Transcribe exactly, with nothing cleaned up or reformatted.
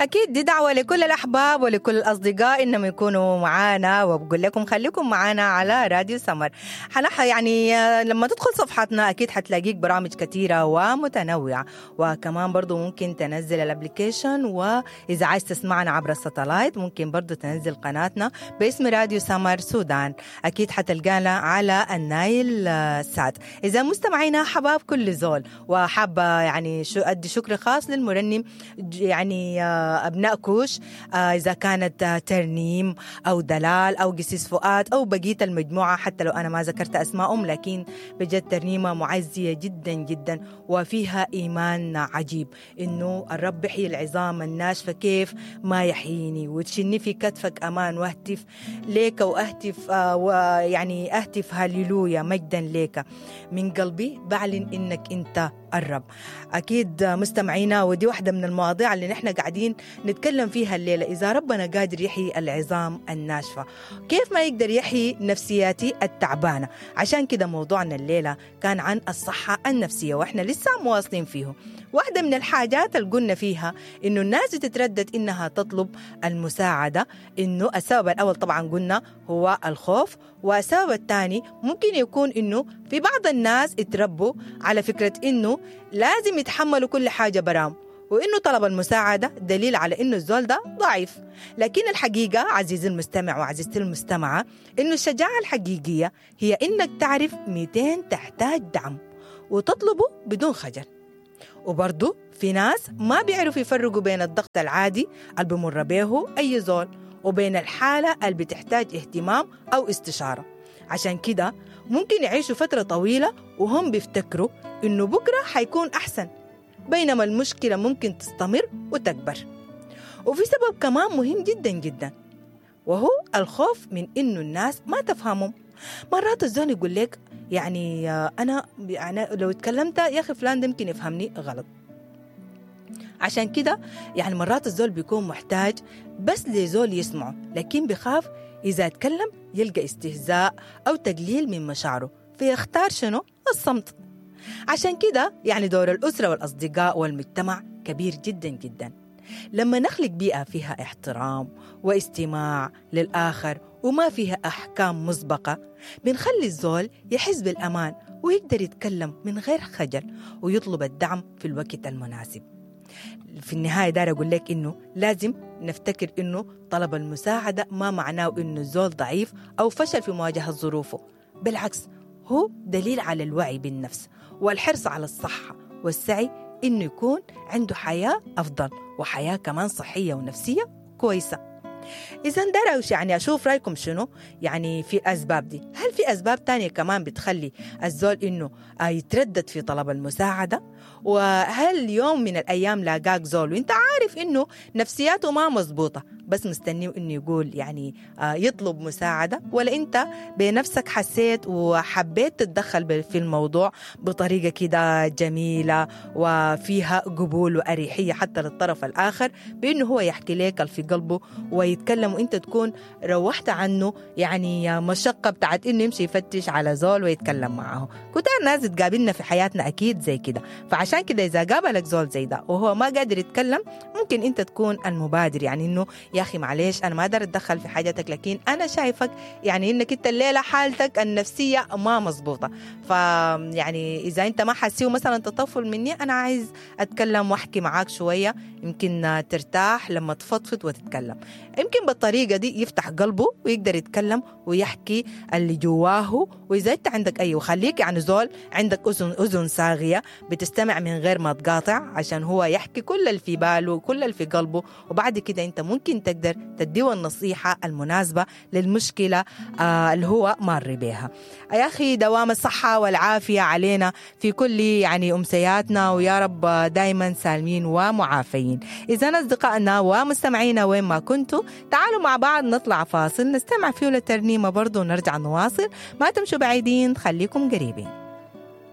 أكيد دي دعوة لكل الأحباب ولكل الأصدقاء إنهم يكونوا معانا، وبقول لكم خليكم معانا على راديو سمر. حنح يعني لما تدخل صفحتنا أكيد حتلاقيك برامج كثيرة ومتنوعة، وكمان برضو ممكن تنزل ال application، وإذا عايز تسمعنا عبر ال satellite ممكن برضو تنزل قناتنا باسم راديو سمر سودان، أكيد حتلقانا على النايل سات. إذا مستمعينا حباب كل زول، وحابة يعني شو أدي شكر خاص للمرنم يعني أبناء كوش، إذا كانت ترنيم أو دلال أو قسيس فؤاد أو بقية المجموعة، حتى لو أنا ما ذكرت أسمائهم، لكن بجد ترنيمة معزية جدا جدا وفيها إيمان عجيب إنه الرب يحيي العظام الناشفة كيف ما يحييني، وتشني في كتفك أمان، واهتف ليك وأهتف ويعني أهتف هاليلويا مجدا ليك من قلبي بعلن إنك أنت الرب. أكيد مستمعينا، ودي واحدة من المواضيع اللي نحن قاعدين نتكلم فيها الليلة، إذا ربنا قادر يحيي العظام الناشفة كيف ما يقدر يحيي نفسياتي التعبانة؟ عشان كده موضوعنا الليلة كان عن الصحة النفسية، وإحنا لسه مواصلين فيه. واحدة من الحاجات اللي قلنا فيها إنه الناس تتردد إنها تطلب المساعدة، إنه السبب الأول طبعا قلنا هو الخوف، والسبب الثاني ممكن يكون إنه في بعض الناس اتربوا على فكرة إنه لازم يتحملوا كل حاجة برام، وإنه طلب المساعدة دليل على إنه الزول ده ضعيف. لكن الحقيقة عزيزي المستمع وعزيزتي المستمعة إنه الشجاعة الحقيقية هي إنك تعرف مئتين تحتاج دعم وتطلبه بدون خجل. وبرضو في ناس ما بيعرفوا يفرقوا بين الضغط العادي اللي بمر به أي زول وبين الحالة اللي بتحتاج اهتمام أو استشارة. عشان كده ممكن يعيشوا فترة طويلة وهم بيفتكروا إنه بكرة حيكون أحسن، بينما المشكلة ممكن تستمر وتكبر. وفي سبب كمان مهم جدا جدا، وهو الخوف من إنه الناس ما تفهمهم. مرات الزول يقول لك يعني أنا يعني لو اتكلمت يا أخي فلان ده ممكن يفهمني غلط. عشان كده يعني مرات الزول بيكون محتاج بس لزول يسمعه، لكن بخاف إذا اتكلم يلقى استهزاء أو تقليل من مشاعره، فيختار شنو؟ الصمت. عشان كده يعني دور الأسرة والأصدقاء والمجتمع كبير جدا جدا. لما نخلق بيئة فيها احترام واستماع للآخر وما فيها أحكام مسبقة، بنخلي الزول يحس بالأمان ويقدر يتكلم من غير خجل ويطلب الدعم في الوقت المناسب. في النهاية دار أقول لك إنه لازم نفتكر إنه طلب المساعدة ما معناه إنه الزول ضعيف أو فشل في مواجهة ظروفه، بالعكس هو دليل على الوعي بالنفس والحرص على الصحة والسعي إنه يكون عنده حياة أفضل وحياة كمان صحية ونفسية كويسة. إذا داروا يعني أشوف رأيكم شنو يعني في أسباب دي. هل في أسباب تانية كمان بتخلي الزول إنه يتردد في طلب المساعدة؟ وهل يوم من الأيام لاقاك زول وإنت عارف إنه نفسياته ما مزبوطة بس مستنيه إنه يقول يعني يطلب مساعدة، ولا إنت بنفسك حسيت وحبيت تتدخل في الموضوع بطريقة كده جميلة وفيها قبول وأريحية حتى للطرف الآخر بإنه هو يحكي لك في قلبه ويتكلم، وإنت تكون روحت عنه يعني مشقة بتاعت إنه يمشي يفتش على زول ويتكلم معه. كتار ناس تقابلنا في حياتنا أكيد زي كده، فعشان كده إذا قابلك زول زي ده وهو ما قادر يتكلم ممكن إنت تكون المبادر، يعني إنه يا أخي معليش أنا ما أقدر أتدخل في حاجتك، لكن أنا شايفك يعني إنك أنت الليلة حالتك النفسية ما مزبوطة، فيعني إذا أنت ما حاسيه مثلا تطفل مني أنا عايز أتكلم وأحكي معاك شوية، يمكن ترتاح لما تفضفض وتتكلم. يمكن بالطريقة دي يفتح قلبه ويقدر يتكلم ويحكي اللي جواه. وإذا أنت عندك أي، وخليك يعني زول عندك أذن أذن صاغية بتستمع من غير ما تقاطع عشان هو يحكي كل اللي في باله وكل اللي في قلبه، وبعد كده أنت ممكن تقدر تديه النصيحة المناسبة للمشكلة آه اللي هو مار بيها. يا أخي دوام الصحة والعافية علينا في كل يعني أمسياتنا، ويا رب دايما سالمين ومعافين. إذا أصدقائنا ومستمعينا وين ما كنتوا، تعالوا مع بعض نطلع فاصل نستمع فيه للترنيمة برضو ونرجع نواصل. ما تمشوا بعيدين، خليكم قريبين.